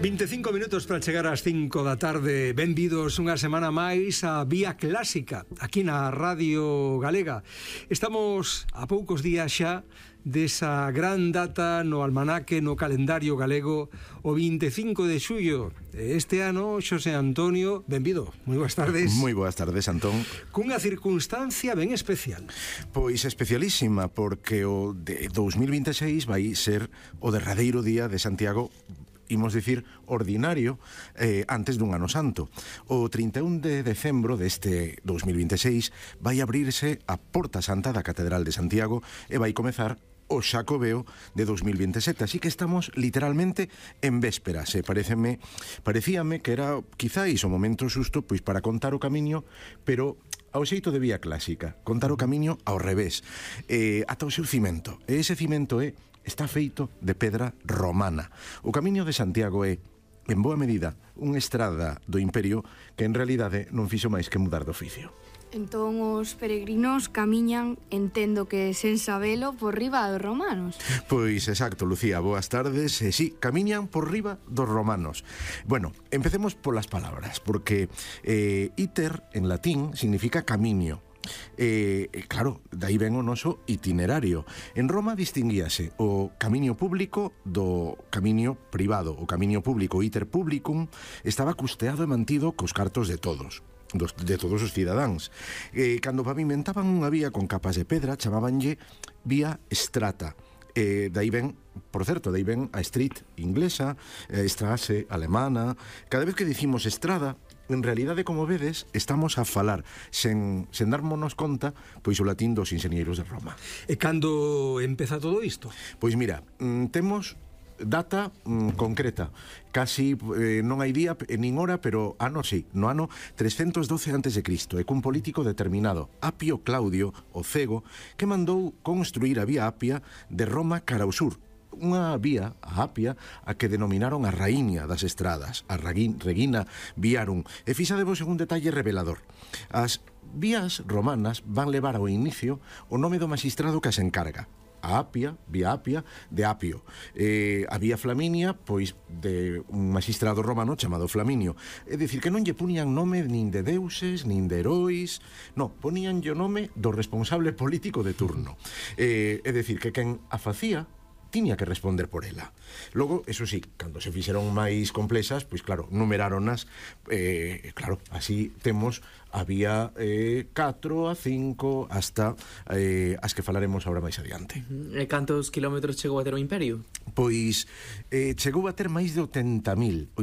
25 minutos para chegar ás 5 da tarde. Benvidos unha semana máis a Vía Clásica, aquí na Radio Galega. Estamos a poucos días xa desa gran data no almanaque, no calendario galego, o 25 de xullo. Este ano, Xosé Antonio, benvido. Moi boas tardes. Moi boas tardes, Antón. Cunha circunstancia ben especial. Pois especialísima, porque o de 2026 vai ser o derradeiro día de Santiago, imos dicir, ordinario, antes dun ano santo. O 31 de decembro deste 2026 vai abrirse a Porta Santa da Catedral de Santiago e vai comezar o Xacobeo de 2027, así que estamos literalmente en vésperas. Parecíame que era quizáis o momento xusto pois para contar o camiño, pero ao xeito de Vía Clásica, contar o camiño ao revés, ata o seu cimento. E ese cimento está feito de pedra romana. O camiño de Santiago é, en boa medida, unha estrada do Imperio que en realidade non fixo máis que mudar de oficio. Entón os peregrinos camiñan, entendo que sen sabelo, por riba dos romanos. Pois exacto, Lucía, boas tardes. Sí, camiñan por riba dos romanos. Bueno, empecemos polas palabras, porque iter en latín significa camiño. Claro, dai ven o noso itinerario. En Roma distinguíase o camiño público do camiño privado. O camiño público, iter publicum, estaba custeado e mantido cos cartos de todos os cidadáns. Cando pavimentaban unha vía con capas de pedra, chamábanlle vía strata. Dai ven, por certo, dai ven a street inglesa, a Strasse alemana. Cada vez que dicimos estrada, en realidade, como vedes, estamos a falar sen darmonos conta, pois o latín dos enxeñeiros de Roma. E cando empeza todo isto? Pois mira, temos data concreta, casi non hai día nin hora, pero ano sí, no ano 312 a.C., e cun político determinado, Apio Claudio, o Cego, que mandou construir a Vía Apia de Roma cara ao sur, unha vía, a Apia, a que denominaron a raíña das estradas, a Regina Viarum. E fixadevos en un detalle revelador: as vías romanas van levar ao inicio o nome do magistrado que as encarga. A Apia, Vía Apia, de Apio. A Vía Flaminia, pois de un magistrado romano chamado Flaminio. É dicir, que non lle ponían nome nin de deuses, nin de heróis, non, poníanlle o nome do responsable político de turno. É dicir, que quen a facía tiña que responder por ela. Logo, eso sí, cando se fixeron máis complexas, pois claro, numeráronas, claro, así temos a vía 4, a 5, hasta as que falaremos agora máis adiante. E cantos kilómetros chegou a ter o Imperio? Pois chegou a ter máis de 80.000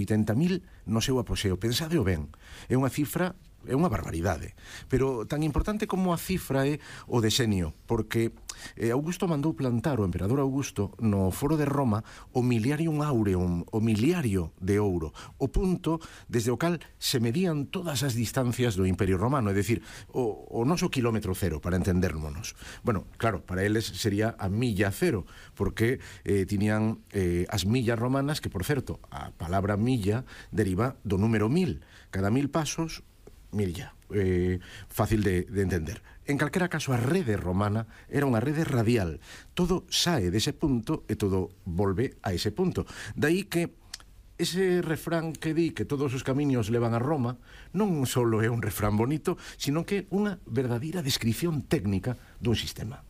no seu apogeo. Pensadeo ben, é unha cifra, é unha barbaridade, pero tan importante como a cifra é o desenio, porque Augusto mandou plantar, o emperador Augusto, no foro de Roma, o Miliarium Aureum, o miliario de ouro, o punto desde o cal se medían todas as distancias do Imperio Romano, é dicir, o noso kilómetro cero, para entendermonos. Bueno, claro, para eles sería a milla cero, porque tiñan as millas romanas, que, por certo, a palabra milla deriva do número 1000. Cada 1000 pasos, milla. Fácil de entender. En calquera caso, a rede romana era unha rede radial. Todo sae dese punto e todo volve a ese punto. Daí que ese refrán que di que todos os camiños levan a Roma non só é un refrán bonito, sino que é unha verdadeira descripción técnica dun sistema.